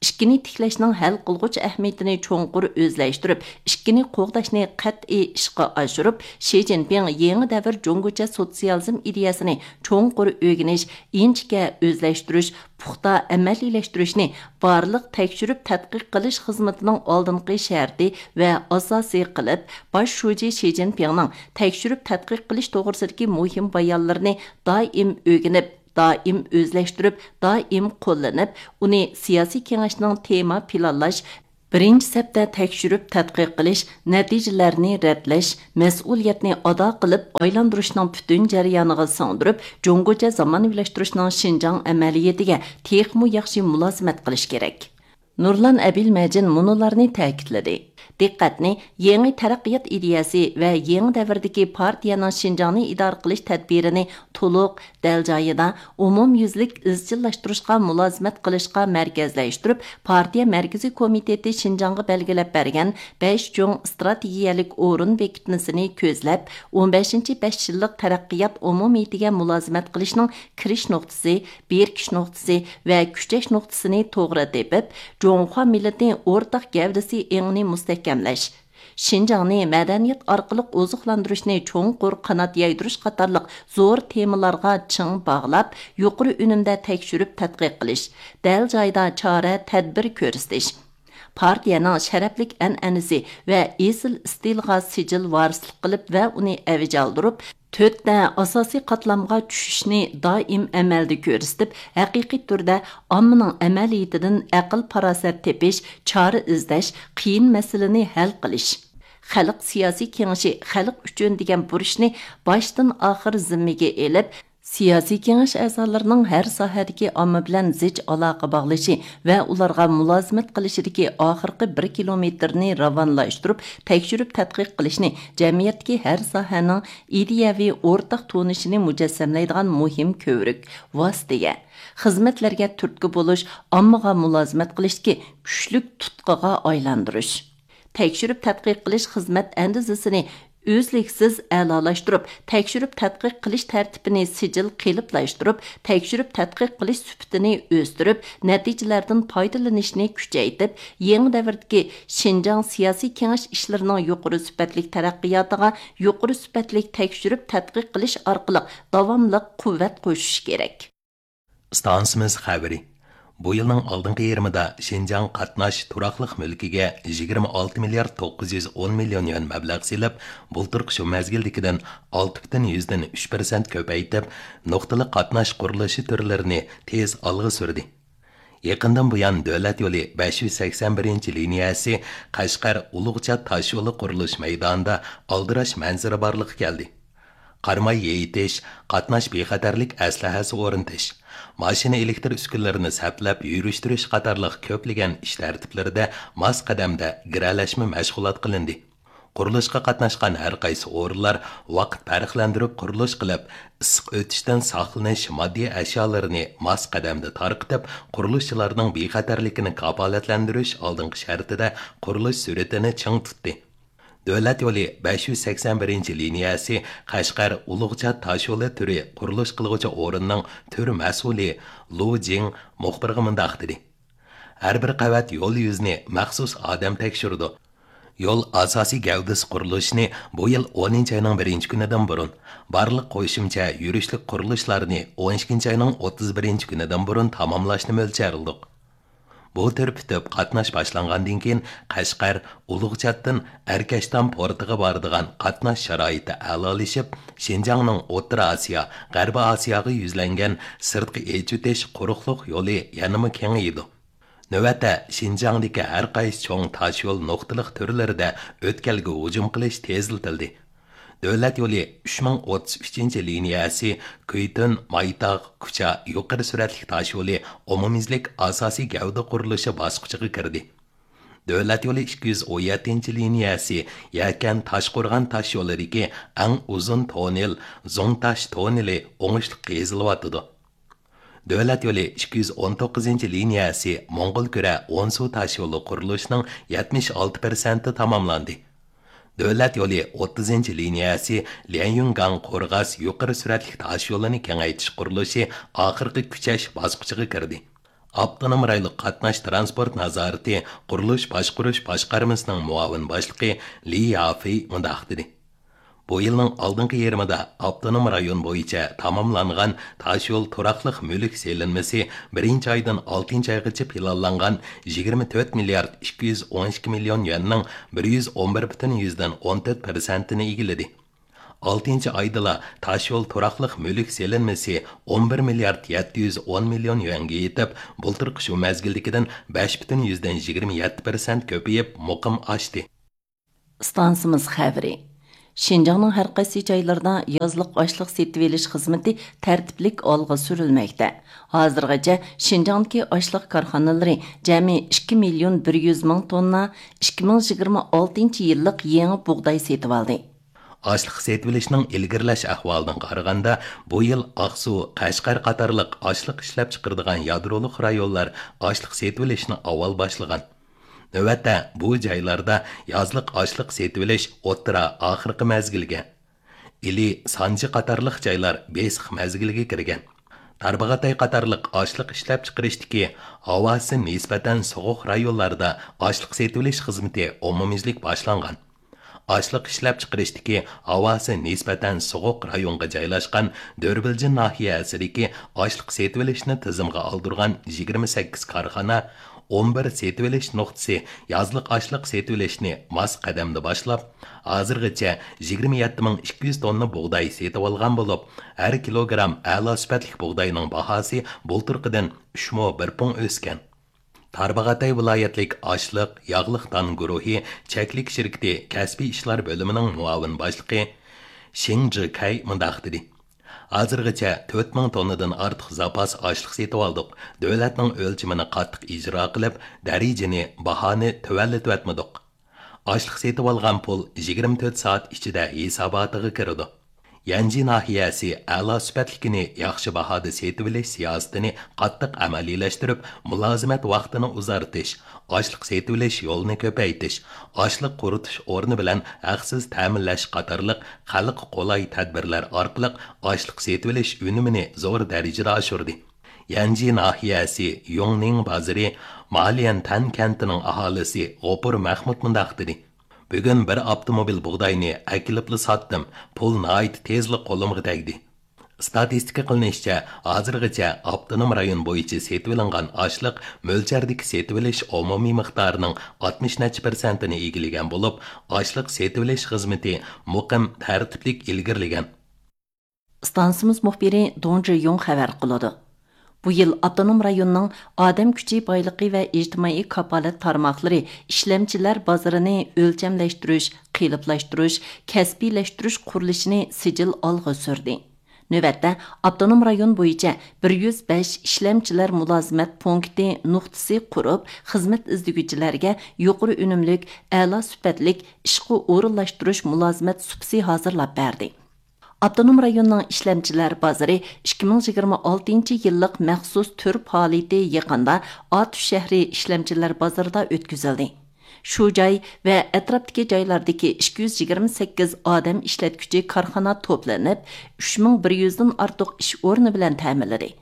ئىككىنى تىكلەشنىڭ ھەل قىلغۇچ ئەھمىيىتىنى چوڭقۇر ئۆزلەشتۈرۈپ، ئىككىنى قوغداشنى قەتئىي ئىشقا ئاشۇرۇپ، شى جىنپىڭ يېڭى دەۋر جۇڭگوچە سوتسىيالىزم ئىدىيەسىنى چوڭقۇر ئۆگىنىش، ئىنچىكە ئۆزلەشتۈرۈش، پۇختا ئەمەلىيلەشتۈرۈشنى بارلىق تەكشۈرۈپ تەتقىق قىلىش خىزمىتىنىڭ ئالدىنقى شەرتى ۋە ئاساسى قىلىپ، باش شۇجى شى جىنپىڭنىڭ تەكشۈرۈپ تەتقىق قىلىش توغرىسىدىكى مۇھىم بايانلىرىنى دائىم ئۆگىنىپ، دائىم ئۆزلەشتۈرۈپ، دائىم قوللىنىپ، ئۇنى سىياسىي كېڭەشنىڭ تېما پىلانلاش، بىرىنچى سەپتە تەكشۈرۈپ تەتقىق قىلىش، نەتىجىلەرنى رەتلەش، مەسئۇلىيەتنى ئادا قىلىپ ئايلاندۇرۇشنىڭ پۈتۈن جەريانىغا سىڭدۈرۈپ، جۇڭگوچە زامانىۋىلاشتۇرۇشنىڭ شىنجاڭ ئەمەلىيىتىگە تېخىمۇ ياخشى مۇلازىمەت قىلىش كېرەك. نۇرلان ئەبىلمەجىن مۇنۇلارنى تەكىتلىدى. دىققەتنى يېڭى تەرەققىيات ئىدىيەسى ۋە يېڭى دەۋردىكى پارتىيەنىڭ شىنجاڭنى ئىدارە قىلىش تەدبىرىنى تولۇق، دەل جايىدا، ئومۇميۈزلۈك ئىزچىللاشتۇرۇشقا مۇلازىمەت قىلىشقا مەركەزلەشتۈرۈپ، پارتىيە مەركىزىي كومىتېتى شىنجاڭغا بەلگىلەپ بەرگەن بەش چوڭ ئىستراتېگىيەلىك ئورۇن بېكىتمىسىنى كۆزلەپ، ئون بەشىنچى بەش يىللىق تەرەققىيات ئومۇمىيىتىگە مۇلازىمەت قىلىشنىڭ كىرىش نۇقتىسى، بېرىكىش نۇقتىسى ۋە كۈچەش نۇقتىسىنى توغرا تېپىپ، جۇڭخۇا مىللىتى ئورتاق گەۋدىسى ئېڭىنى مۇستەھكەملەش، شىنجاڭنى مەدەنىيەت ئارقىلىق ئوزۇقلاندۇرۇشنى چوڭقۇر قانات يايدۇرۇش قاتارلىق زور تېمىلارغا چىڭ باغلاپ، يۇقىرى ئۈنۈمدە تەكشۈرۈپ تەتقىق قىلىش، دەل جايىدا چارە، تەدبىر كۆرسىتىش، پارتىيەنىڭ شەرەپلىك ئەنئەنىسى ۋە ئېسىل ئىستىلىغا سىجىل ۋارىسلىق قىلىپ ۋە ئۇنى ئەۋج ئالدۇرۇپ، تۆتتە ئاساسىي قاتلامغا چۈشۈشنى دائىم ئەمەلدە كۆرسىتىپ، ھەقىقىي تۈردە ئاممىنىڭ ئەمەلىيىتىدىن ئەقىل-پاراسەت تېپىش، چارە ئىزدەش، قىيىن مەسىلىنى ھەل قىلىش. خەلق سىياسىي كېڭىشى خەلق ئۈچۈن دېگەن بۇرچنى باشتىن ئاخىر زىممىگە ئېلىپ، سىياسىي كېڭەش ئەزالىرىنىڭ ھەر ساھەدىكى ئامما بىلەن زىچ ئالاقە باغلىشى ۋە ئۇلارغا مۇلازىمەت قىلىشىدىكى ئاخىرقى بىر كىلومېتىرنى راۋانلاشتۇرۇپ، تەكشۈرۈپ تەتقىق قىلىشنى جەمئىيەتتىكى ھەر ساھەنىڭ ئىدىيەۋى ئورتاق تونۇشىنى مۇجەسسەملەيدىغان مۇھىم كۆۋرۈك، ۋاسىتىگە، خىزمەتلەرگە تۈرتكە بولۇش، ئاممىغا مۇلازىمەت قىلىشتىكى كۈچلۈك تۇتقىغا ئايلاندۇرۇش. تەكشۈرۈپ تەتقىق قىلىش خىزمەت ئەندىزىسىنى ئۈزلۈكسىز ئەلالاشتۇرۇپ، تەكشۈرۈپ تەتقىق قىلىش تەرتىپىنى سىجىل قېلىپلاشتۇرۇپ، تەكشۈرۈپ تەتقىق قىلىش سۈپىتىنى ئۆستۈرۈپ، نەتىجىلەردىن پايدىلىنىشنى كۈچەيتىپ، يېڭى دەۋردىكى شىنجاڭ سىياسىي كېڭەش ئىشلىرىنىڭ يۇقىرى سۈپەتلىك تەرەققىياتىغا يۇقىرى سۈپەتلىك تەكشۈرۈپ تەتقىق قىلىش ئارقىلىق داۋاملىق قۇۋۋەت قوشۇش كېرەك. ئىستانسىمىز خەۋىرى. بۇ يىلنىڭ ئالدىنقى يېرىمىدا شىنجاڭ قاتناش تۇراقلىق مۈلكىگە يىگىرمە ئالتە مىليارد توققۇز يۈز ئون مىليون يۈەن مەبلەغ سېلىپ، بۇلتۇرقى شۇ مەزگىلدىكىدىن ئالتە پۈتۈن يۈزدىن ئۈچ پىرسەنت كۆپەيتىپ، نۇقتىلىق قاتناش قۇرۇلۇشى تۈرلىرىنى تېز ئالغا سۈردى. يېقىندىن بۇيان، دۆلەت يولى بەش يۈز سەكسەن بىرىنچى لىنىيەسى قەشقەر ئۇلۇغچات تاشيولى قۇرۇلۇش مەيدانىدا ئالدىراش مەنزىرە بارلىققا كەلدى. قاراماي يېيىتىش، قاتناش بىخەتەرلىك ئەسلىھەسى ئورنىتىش، ماشىنا ئېلېكتر ئۈسكۈنىلىرىنى سەپلەپ يۈرۈشتۈرۈش قاتارلىق كۆپلىگەن ئىش تەرتىپلىرىدە ماس قەدەمدە گىرەلەشمە مەشغۇلات قىلىندى. قۇرۇلۇشقا قاتناشقان ھەر قايسى ئورۇنلار ۋاقىت پەرقلەندۈرۈپ قۇرۇلۇش قىلىپ، ئىسسىق ئۆتۈشتىن ساقلىنىش ماددىي ئەشيالىرىنى ماس قەدەمدە تارقىتىپ، قۇرۇلۇشچىلارنىڭ بىخەتەرلىكىنى كاپالەتلەندۈرۈش ئالدىنقى شەرتىدە قۇرۇلۇش سۈرئىتىنى چىڭ تۇتتى. دۆلەت يولى بەش يۈز سەكسەن بىرىنچى لىنىيەسى قەشقەر ئۇلۇغچات تاشيولى تۈرى قۇرۇلۇش قىلغۇچى ئورۇننىڭ تۈر مەسئۇلى لۇ جىڭ مۇخبىرغا مۇنداق دېدى: ھەر بىر قەۋەت يول يۈزىنى مەخسۇس ئادەم تەكشۈرىدۇ. يول ئاساسىي گەۋدىسى قۇرۇلۇشىنى بۇ يىل ئونىنچى ئاينىڭ بىرىنچى كۈنىدىن بۇرۇن، بارلىق قوشۇمچە يۈرۈشلۈك قۇرۇلۇشلارنى ئون ئىككىنچى ئاينىڭ ئوتتۇز بىرىنچى كۈنىدىن بۇرۇن تاماملاشنى مۆلچەرلىدۇق. بۇ تۈر پۈتۈپ قاتناش باشلانغاندىن كېيىن، قەشقەر ئۇلۇغچاتتىن ئەركەشتام پورتىغا بارىدىغان قاتناش شارائىتى ئەلالىشىپ، شىنجاڭنىڭ ئوتتۇرا ئاسىيا، غەربىي ئاسىياغا يۈزلەنگەن سىرتقا ئېچىۋېتىش قۇرۇقلۇق يولى يەنىمۇ كېڭىيىدۇ. نۆۋەتتە، شىنجاڭدىكى ھەر قايسى چوڭ تاشيول نۇقتىلىق تۈرلىرىدە ئۆتكەلگە ھۇجۇم قىلىش تېزلىتىلدى. دۆلەت يولى ئۈچ مىڭ ئوتتۇز ئۈچىنچى لىنىيەسى كۈيتۈن، مايتاغ، كۇچا يۇقىرى سۈرئەتلىك تاشيولى ئومۇميۈزلۈك ئاساسىي گەۋدە قۇرۇلۇشى باسقۇچىغا كىردى. دۆلەت يولى ئىككى يۈز ئون يەتتىنچى لىنىيەسى يەكەن تاشقورغان تاشيولىدىكى ئەڭ ئۇزۇن توننېل، زوڭتاش توننېلى ئوڭۇشلۇق قېزىلىۋاتىدۇ. دۆلەت يولى ئىككى يۈز ئون توققۇزىنچى لىنىيەسى موڭغۇلكۈرە ئونسۇ تاشيولى قۇرۇلۇشىنىڭ يەتمىش ئالتە پىرسەنتى تاماملاندى. دۆلەت يولى ئوتتۇزىنچى لىنىيەسى ليەنيۈنگاڭ قورغاس يۇقىرى سۈرئەتلىك تاشيولىنى كېڭەيتىش قۇرۇلۇشى ئاخىرقى كۈچەش باسقۇچىغا كىردى. ئاپتونوم رايونلۇق قاتناش تىرانسپورت نازارىتى قۇرۇلۇش باشقۇرۇش باشقارمىسىنىڭ مۇئاۋىن باشلىقى لى يافېي مۇنداق دېدى: بۇ يىلنىڭ ئالدىنقى يېرىمىدا ئاپتونوم رايون بويىچە تاماملانغان تاشيول تۇراقلىق مۈلۈك سېلىنمىسى بىرىنچى ئايدىن ئالتىنچى ئايغىچە پىلانلانغان يىگىرمە تۆت مىليارد ئىككى يۈز ئون ئىككى مىليون يۈەننىڭ بىر يۈز ئون بىر پۈتۈن يۈزدىن ئون تۆت پىرسەنتىنى ئىگىلىدى. ئالتىنچى ئايدىلا تاشيول تۇراقلىق مۈلۈك سېلىنمىسى ئون بىر مىليارد يەتتە يۈز ئون مىليون يۈەنگە يېتىپ، بۇلتۇرقى شۇ مەزگىلدىكىدىن بەش پۈتۈن يۈزدىن يىگىرمە يەتتە پىرسەنت كۆپىيىپ، مۇقىم ئاشتى. ئىستانسىمىز خەۋىرى. شىنجاڭنىڭ ھەر قايسى جايلىرىدا يازلىق ئاشلىق سېتىۋېلىش خىزمىتى تەرتىپلىك ئالغا سۈرۈلمەكتە. ھازىرغىچە شىنجاڭدىكى ئاشلىق كارخانىلىرى جەمئىي ئىككى مىليون بىر يۈز مىڭ توننا ئىككى مىڭ يىگىرمە ئالتىنچى يىللىق يېڭى بۇغداي سېتىۋالدى. ئاشلىق سېتىۋېلىشنىڭ ئىلگىرىلەش ئەھۋالىدىن قارىغاندا، بۇ يىل ئاقسۇ، قەشقەر قاتارلىق ئاشلىق ئىشلەپچىقىرىدىغان يادرولۇق رايونلار ئاشلىق سېتىۋېلىشنى ئاۋۋال باشلىغان. نۆۋەتتە بۇ جايلاردا يازلىق ئاشلىق سېتىۋېلىش ئوتتۇرا ئاخىرقى مەزگىلگە، ئىلى، سانجى قاتارلىق جايلار بېسىق مەزگىلگە كىرگەن. تارباغاتاي قاتارلىق ئاشلىق ئىشلەپچىقىرىشتىكى ھاۋاسى نىسبەتەن سوغۇق رايونلاردا ئاشلىق سېتىۋېلىش خىزمىتى ئومۇميۈزلۈك باشلانغان. ئاشلىق ئىشلەپچىقىرىشتىكى ھاۋاسى نىسبەتەن سوغۇق رايونغا جايلاشقان دۆربىلجىن ناھىيەسىدىكى ئاشلىق سېتىۋېلىشنى تىزىمغا ئالدۇرغان يىگىرمە سەككىز كارخانا، ئون بىر سېتىۋېلىش نۇقتىسى يازلىق ئاشلىق سېتىۋېلىشنى ماس قەدەمدە باشلاپ، ھازىرغىچە يىگىرمە يەتتە مىڭ ئىككى يۈز توننا بۇغداي سېتىۋالغان بولۇپ، ھەر كىلوگرام ئەلا سۈپەتلىك بۇغداينىڭ باھاسى بۇلتۇرقىدىن ئۈچمۇ بىر پۇڭ ئۆسكەن. تارباغاتاي ۋىلايەتلىك ئاشلىق، ياغلىق دان گۇرۇھى چەكلىك شىركىتى كەسپىي ئىشلار بۆلۈمىنىڭ مۇئاۋىن باشلىقى شېڭ جىكەي مۇنداق دېدى: ھازىرغىچە تۆت مىڭ توننىدىن ئارتۇق زاپاس ئاشلىق سېتىۋالدۇق. دۆلەتنىڭ ئۆلچىمىنى قاتتىق ئىجرا قىلىپ، دەرىجىنى، باھانى تۆۋەنلىتىۋەتمىدۇق. ئاشلىق سېتىۋالغان پۇل يىگىرمە تۆت سائەت ئىچىدە ھېساباتىغا كىرىدۇ. يەنجى ناھىيەسى ئەلا سۈپەتلىكىنى ياخشى باھادا سېتىۋېلىش سىياسىتىنى قاتتىق ئەمەلىيلەشتۈرۈپ، مۇلازىمەت ۋاقتىنى ئۇزارتىش، ئاشلىق سېتىۋېلىش يولىنى كۆپەيتىش، ئاشلىق قۇرۇتۇش ئورنى بىلەن ھەقسىز تەمىنلەش قاتارلىق خەلققە قولاي تەدبىرلەر ئارقىلىق ئاشلىق سېتىۋېلىش ئۈنۈمىنى زور دەرىجىدە ئاشۇردى. يەنجى ناھىيەسى يۇڭنىڭ بازىرى ماليەنتەن كەنتىنىڭ ئاھالىسى غوپۇر مەخمۇت مۇنداق دېدى: بۈگۈن بىر ئاپتوموبىل بۇغداينى ئەكېلىپلا ساتتىم، پۇل ناھايىتى تېزلا قولۇمغا تەگدى. ئىستاتىستىكا قىلىنىشىچە، ھازىرغىچە ئاپتونوم رايون بويىچە سېتىۋېلىنغان ئاشلىق مۆلچەردىكى سېتىۋېلىش ئومۇمىي مىقدارىنىڭ ئاتمىش نەچچە پىرسەنتىنى ئىگىلىگەن بولۇپ، ئاشلىق سېتىۋېلىش خىزمىتى مۇقىم، تەرتىپلىك ئىلگىرىلىگەن. ئىستانسىمىز مۇخبىرى دۇڭ جىيۇڭ خەۋەر قىلىدۇ. بۇ يىل ئاپتونوم رايوننىڭ ئادەم كۈچى بايلىقى ۋە ئىجتىمائىي كاپالەت تارماقلىرى ئىشلەمچىلەر بازىرىنى ئۆلچەملەشتۈرۈش، قېلىپلاشتۇرۇش، كەسپىيلەشتۈرۈش قۇرۇلۇشىنى سىجىل ئالغا سۈردى. نۆۋەتتە، ئاپتونوم رايون بويىچە بىر يۈز بەش ئىشلەمچىلەر مۇلازىمەت پونكىتى نۇقتىسى قۇرۇپ، خىزمەت ئىزدىگۈچىلەرگە يۇقىرى ئۈنۈملۈك، ئەلا سۈپەتلىك ئىشقا ئورۇنلاشتۇرۇش مۇلازىمەت سۇپىسى ھازىرلاپ بەردى. ئاپتونوم رايوننىڭ ئىشلەمچىلەر بازىرى ئىككى مىڭ يىگىرمە ئالتىنچى يىللىق مەخسۇس تۈر پائالىيىتى يېقىندا ئاتۇش شەھىرى ئىشلەمچىلەر بازىرىدا ئۆتكۈزۈلدى. شۇ جاي ۋە ئەتراپتىكى جايلاردىكى ئىككى يۈز يىگىرمە سەككىز ئادەم ئىشلەتكۈچى كارخانا توپلىنىپ، ئۈچ مىڭ بىر يۈزدىن ئارتۇق ئىش ئورنى بىلەن تەمىنلىدى.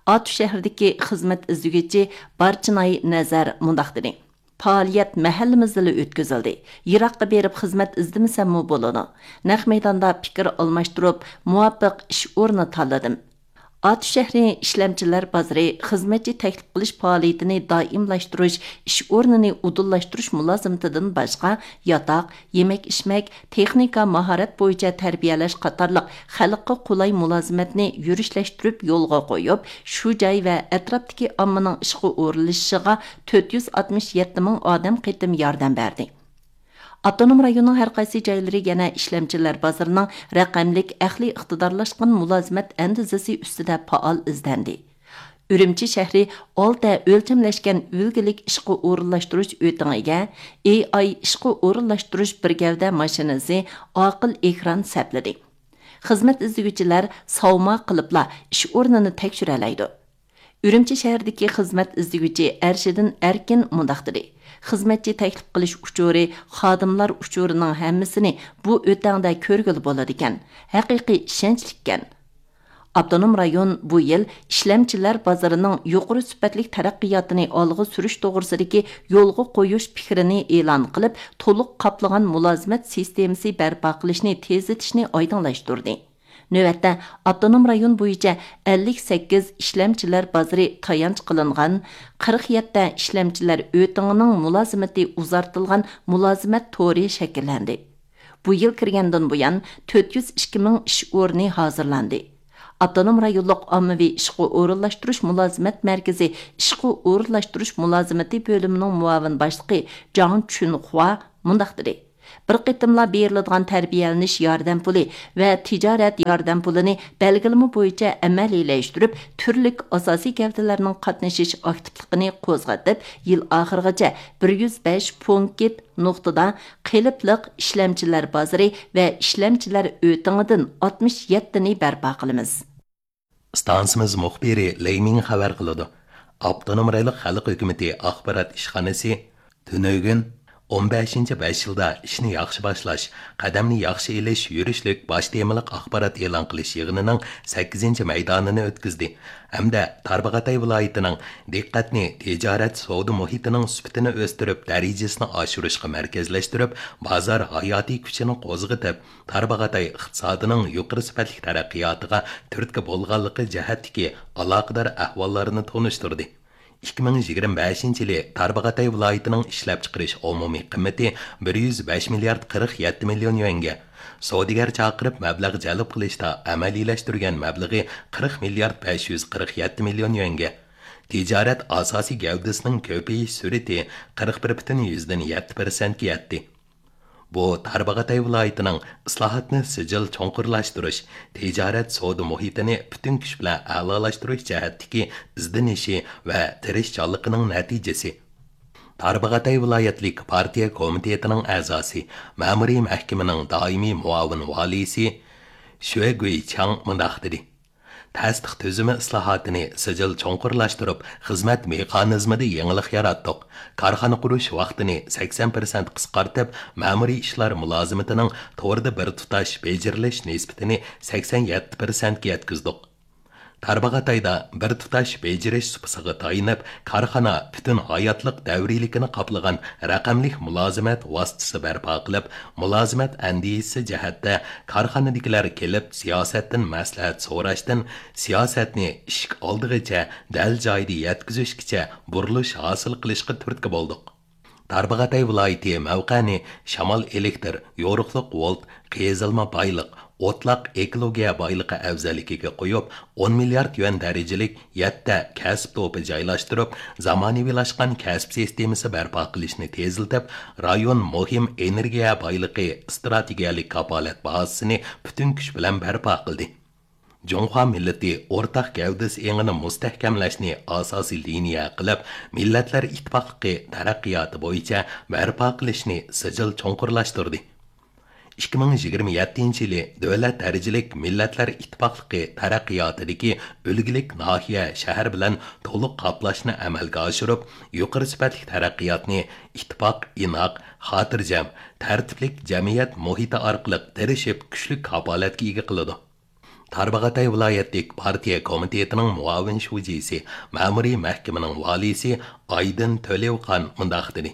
ئاتۇش شەھىرىدىكى خىزمەت ئىزدىگۈچى بارچىناي نەزەر مۇنداق دېدى: پائالىيەت مەھەللىمىزدىلا ئۆتكۈزۈلدى. يىراققا بېرىپ خىزمەت ئىزدىمىسەممۇ بولىدۇ. نەق مەيداندا پىكىر ئالماشتۇرۇپ، مۇۋاپىق ئىش ئورنى تاللىدىم. ئاتۇش شەھىرى ئىشلەمچىلەر بازىرى خىزمەتچى تەكلىپ قىلىش پائالىيىتىنى دائىملاشتۇرۇش، ئىش ئورنىنى ئۇدۇللاشتۇرۇش مۇلازىمىتىدىن باشقا، ياتاق، يېمەك-ئىچمەك، تېخنىكا ماھارەت بويىچە تەربىيەلەش قاتارلىق خەلققە قولاي مۇلازىمەتنى يۈرۈشلەشتۈرۈپ يولغا قويۇپ، شۇ جاي ۋە ئەتراپتىكى ئاممىنىڭ ئىشقا ئورۇنلىشىشىغا تۆت يۈز ئاتمىش يەتتە مىڭ ئادەم قېتىم ياردەم بەردى. ئاپتونوم رايوننىڭ ھەر قايسى جايلىرى يەنە ئىشلەمچىلەر بازىرىنىڭ رەقەملىك ئەقلىي ئىقتىدارلاشقان مۇلازىمەت ئەندىزىسى ئۈستىدە پائال ئىزدەندى. ئۈرۈمچى شەھىرى ئالتە ئۆلچەملەشكەن ئۈلگىلىك ئىشقا ئورۇنلاشتۇرۇش ئۆتىڭىگە، ئېي ئاي ئىشقا ئورۇنلاشتۇرۇش بىر گەۋدە ماشىنىسى، ئاقىل ئېكران سەپلىدى. خىزمەت ئىزدىگۈچىلەر ساۋما قىلىپلا ئىش ئورنىنى تەكشۈرەلەيدۇ. ئۈرۈمچى شەھىرىدىكى خىزمەت ئىزدىگۈچى ئەرشىدىن ئەركىن مۇنداق دېدى: خىزمەتچى تەكلىپ قىلىش ئۇچۇرى، خادىملار ئۇچۇرىنىڭ ھەممىسىنى بۇ ئۆتەڭدە كۆرگىلى بولىدىكەن. ھەقىقىي ئىشەنچلىككەن. ئاپتونوم رايون بۇ يىل ئىشلەمچىلەر بازىرىنىڭ يۇقىرى سۈپەتلىك تەرەققىياتىنى ئالغا سۈرۈش توغرىسىدىكى يولغا قويۇش پىكرىنى ئېلان قىلىپ، تولۇق قاپلىغان مۇلازىمەت سىستېمىسى بەرپا قىلىشنى تېزلىتىشنى ئايدىڭلاشتۇردى. نۆۋەتتە، ئاپتونوم رايون بويىچە ئەللىك سەككىز ئىشلەمچىلەر بازىرى تايانچ قىلىنغان، قىرىق يەتتە ئىشلەمچىلەر ئۆتىڭىنىڭ مۇلازىمىتى ئۇزارتىلغان مۇلازىمەت تورى شەكىللەندى. بۇ يىل كىرگەندىن بۇيان، تۆت يۈز ئىككى مىڭ ئىش ئورنى ھازىرلاندى. ئاپتونوم رايونلۇق ئاممىۋى ئىشقا ئورۇنلاشتۇرۇش مۇلازىمەت مەركىزى ئىشقا ئورۇنلاشتۇرۇش مۇلازىمىتى بۆلۈمىنىڭ مۇئاۋىن باشلىقى جاڭ چۈنخۇا مۇنداق دېدى: بىر قېتىملا بېرىلىدىغان تەربىيەلىنىش ياردەم پۇلى ۋە تىجارەت ياردەم پۇلىنى بەلگىلىمە بويىچە ئەمەلىيلەشتۈرۈپ، تۈرلۈك ئاساسىي گەۋدىلەرنىڭ قاتنىشىش ئاكتىپلىقىنى قوزغىتىپ، يىل ئاخىرىغىچە بىر يۈز بەش پونكىت نۇقتىدا قېلىپلىق ئىشلەمچىلەر بازىرى ۋە ئىشلەمچىلەر ئۆتىڭىدىن ئاتمىش يەتتىنى بەرپا قىلىمىز. ئىستانسىمىز مۇخبىرى لېي مىڭ خەۋەر قىلىدۇ. ئاپتونوم رايونلۇق خەلق ھۆكۈمىتى ئاخبارات ئىشخانىسى تۈنۈگۈن ئون بەشىنچى بەش يىلدا ئىشنى ياخشى باشلاش، قەدەمنى ياخشى ئېلىش يۈرۈشلۈك باش تېمىلىق ئاخبارات ئېلان قىلىش يىغىنىنىڭ سەككىزىنچى مەيدانىنى ئۆتكۈزدى ھەمدە تارباغاتاي ۋىلايىتىنىڭ دىققەتنى تىجارەت سودا مۇھىتىنىڭ سۈپىتىنى ئۆستۈرۈپ، دەرىجىسىنى ئاشۇرۇشقا مەركەزلەشتۈرۈپ، بازار ھاياتىي كۈچىنى قوزغىتىپ، تارباغاتاي ئىقتىسادىنىڭ يۇقىرى سۈپەتلىك تەرەققىياتىغا تۈرتكە بولغانلىقى جەھەتتىكى ئالاقىدار ئەھۋاللارنى تونۇشتۇردى. ئىككى مىڭ يىگىرمە بەشىنچى يىلى تارباغاتاي ۋىلايىتىنىڭ ئىشلەپچىقىرىش ئومۇمىي قىممىتى بىر يۈز بەش مىليارد قىرىق يەتتە مىليون يۈەنگە، سودىگەر چاقىرىپ مەبلەغ جەلپ قىلىشتا ئەمەلىيلەشتۈرگەن مەبلىغى قىرىق مىليارد بەش يۈز قىرىق يەتتە مىليون يۈەنگە، تىجارەت ئاساسىي گەۋدىسىنىڭ كۆپىيىش سۈرئىتى قىرىق بىر پۈتۈن يۈزدىن يەتتە پىرسەنتكە يەتتى. بۇ تارباغاتاي ۋىلايىتىنىڭ ئىسلاھاتنى سىجىل چوڭقۇرلاشتۇرۇش، تىجارەت سودا مۇھىتىنى پۈتۈن كۈچ بىلەن ئەلالاشتۇرۇش جەھەتتىكى ئىزدىنىشى ۋە تىرىشچانلىقىنىڭ نەتىجىسى. تارباغاتاي ۋىلايەتلىك پارتىيە كومىتېتىنىڭ ئەزاسى، مەمۇرىي مەھكىمىنىڭ دائىمىي مۇئاۋىن ۋالىيسى شۈە گۇيچاڭ مۇنداق دېدى. تەستىق تۈزۈمى ئىسلاھاتىنى سىجىل چوڭقۇرلاشتۇرۇپ، خىزمەت مېخانىزمىدا يېڭىلىق ياراتتۇق. كارخانا قۇرۇش ۋاقتىنى سەكسەن پىرسەنت قىسقارتىپ، مەمۇرىي ئىشلار مۇلازىمىتىنىڭ توردا بىر تۇتاش بېجىرىلىش نىسبىتىنى سەكسەن يەتتە پىرسەنتكە يەتكۈزدۇق. تارباغاتايدا بىر تۇتاش بېجىرىش سۇپىسىغا تايىنىپ، كارخانا پۈتۈن ھاياتلىق دەۋرىيلىكىنى قاپلىغان رەقەملىك مۇلازىمەت ۋاسىتىسى بەرپا قىلىپ، مۇلازىمەت ئەندىزىسى جەھەتتە كارخانىدىكىلەر كېلىپ سىياسەتتىن مەسلىھەت سوراشتىن، سىياسەتنى ئىشىك ئالدىغىچە، دەل جايىدا يەتكۈزۈشكىچە بۇرۇلۇش ھاسىل قىلىشقا تۈرتكە بولدۇق. تارباغاتاي ۋىلايىتى مەۋقەنى شامال ئېلېكتىر، يورۇقلۇق ۋولت، قېزىلما بايلىق، ئوتلاق ئېكولوگىيە بايلىقى ئەۋزەللىكىگە قويۇپ، ئون مىليارد يۈەن دەرىجىلىك يەتتە كەسىپ توپى جايلاشتۇرۇپ، زامانىۋىلاشقان كەسىپ سىستېمىسى بەرپا قىلىشنى تېزلىتىپ، رايون مۇھىم ئېنېرگىيە بايلىقى ئىستراتېگىيەلىك كاپالەت بازىسىنى پۈتۈن كۈچ بىلەن بەرپا قىلدى. جۇڭخۇا مىللىتى ئورتاق گەۋدىسى ئېڭىنى مۇستەھكەملەشنى ئاساسىي لىنىيە قىلىپ، مىللەتلەر ئىتتىپاقلىقى تەرەققىياتى بويىچە بەرپا قىلىشنى سىجىل چوڭقۇرلاشتۇردى. ئىككى مىڭ يىگىرمە يەتتىنچى يىلى دۆلەت دەرىجىلىك مىللەتلەر ئىتتىپاقلىقى تەرەققىياتىدىكى ئۈلگىلىك ناھىيە، شەھەر بىلەن تولۇق قاپلاشنى ئەمەلگە ئاشۇرۇپ، يۇقىرى سۈپەتلىك تەرەققىياتنى ئىتتىپاق، ئىناق، خاتىرجەم، تەرتىپلىك جەمئىيەت مۇھىتى ئارقىلىق تىرىشىپ، كۈچلۈك كاپالەتكە ئىگە قىلىدۇ. تارباغاتاي ۋىلايەتلىك پارتىيە كومىتېتىنىڭ مۇئاۋىن شۇجىسى، مەمۇرىي مەھكىمىنىڭ ۋالىيسى ئايدىن تۆلېۋخان مۇنداق دېدى: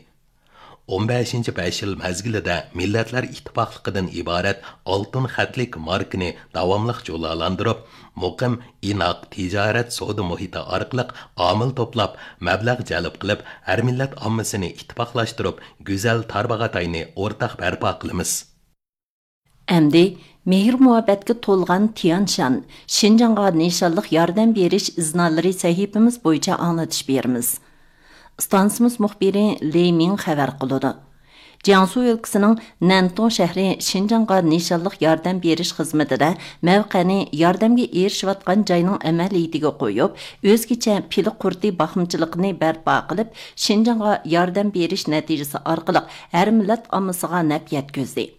ئون بەشىنچى بەش يىل مەزگىلىدە مىللەتلەر ئىتتىپاقلىقىدىن ئىبارەت ئالتۇن خەتلىك ماركىنى داۋاملىق جۇلالاندۇرۇپ، مۇقىم، ئىناق تىجارەت سودا مۇھىتى ئارقىلىق ئامىل توپلاپ، مەبلەغ جەلپ قىلىپ، ھەر مىللەت ئاممىسىنى ئىتتىپاقلاشتۇرۇپ، گۈزەل تارباغاتاينى ئورتاق بەرپا قىلىمىز. ئەمدى مېھىر-مۇھەببەتكە تولغان تيانشان، شىنجاڭغا نىشانلىق ياردەم بېرىش ئىزنالىرى سەھىپىمىز بويىچە ئاڭلىتىش بېرىمىز. ئىستانسىمىز مۇخبىرى لېي مىڭ خەۋەر قىلىدۇ. جياڭسۇ ئۆلكىسىنىڭ نەنتۇڭ شەھىرى شىنجاڭغا نىشانلىق ياردەم بېرىش خىزمىتىدە مەۋقەنى ياردەمگە ئېرىشىۋاتقان جاينىڭ ئەمەلىيىتىگە قويۇپ، ئۆزگىچە پىلە قۇرتى باقمىچىلىقىنى بەرپا قىلىپ، شىنجاڭغا ياردەم بېرىش نەتىجىسى ئارقىلىق ھەر مىللەت ئاممىسىغا نەپ يەتكۈزدى.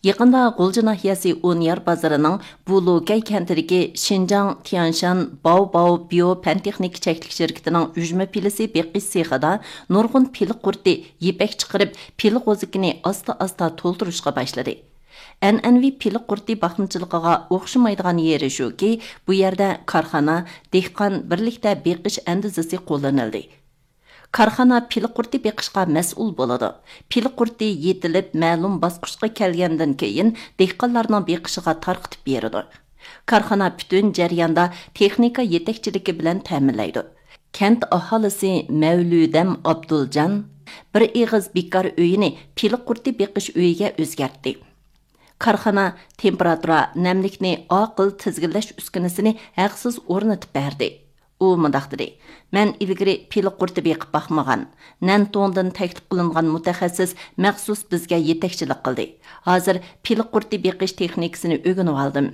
يېقىندا غۇلجا ناھىيەسى ئونيار بازىرىنىڭ بۇلۇكەي كەنتىدىكى شىنجاڭ تيانشان باۋ باۋ بىيو پەن تېخنىكا چەكلىك شىركىتىنىڭ ئۈجمە پىلىسى بېقىش سېخىدا نۇرغۇن پىلە قۇرتى يىپەك چىقىرىپ، پىلە غوزىكىنى ئاستا ئاستا تولدۇرۇشقا باشلىدى. ئەنئەنىۋى پىلە قۇرتى باقمىچىلىقىغا ئوخشىمايدىغان يېرى شۇكى، بۇ يەردە كارخانا، دېھقان بىرلىكتە بېقىش ئەندىزىسى قوللىنىلدى. كارخانا پىلە قۇرتى بېقىشقا مەسئۇل بولىدۇ. پىلە قۇرتى يېتىلىپ، مەلۇم باسقۇچقا كەلگەندىن كېيىن، دېھقانلارنىڭ بېقىشىغا تارقىتىپ بېرىدۇ. كارخانا پۈتۈن جەرياندا تېخنىكا يېتەكچىلىكى بىلەن تەمىنلەيدۇ. كەنت ئاھالىسى مەۋلۇدەم ئابدۇلجان بىر ئېغىز بىكار ئۆيىنى پىلە قۇرتى بېقىش ئۆيىگە ئۆزگەرتتى. كارخانا تېمپېراتۇرا، نەملىكنى ئاقىل تىزگىنلەش ئۈسكۈنىسىنى ھەقسىز ئورنىتىپ بەردى. ئۇ مۇنداق دېدى: مەن ئىلگىرى پىلە قۇرتى بېقىپ باقمىغان. نەنتۇڭدىن تەكلىپ قىلىنغان مۇتەخەسسىس مەخسۇس بىزگە يېتەكچىلىك قىلدى. ھازىر پىلە قۇرتى بېقىش تېخنىكىسىنى ئۆگىنىۋالدىم.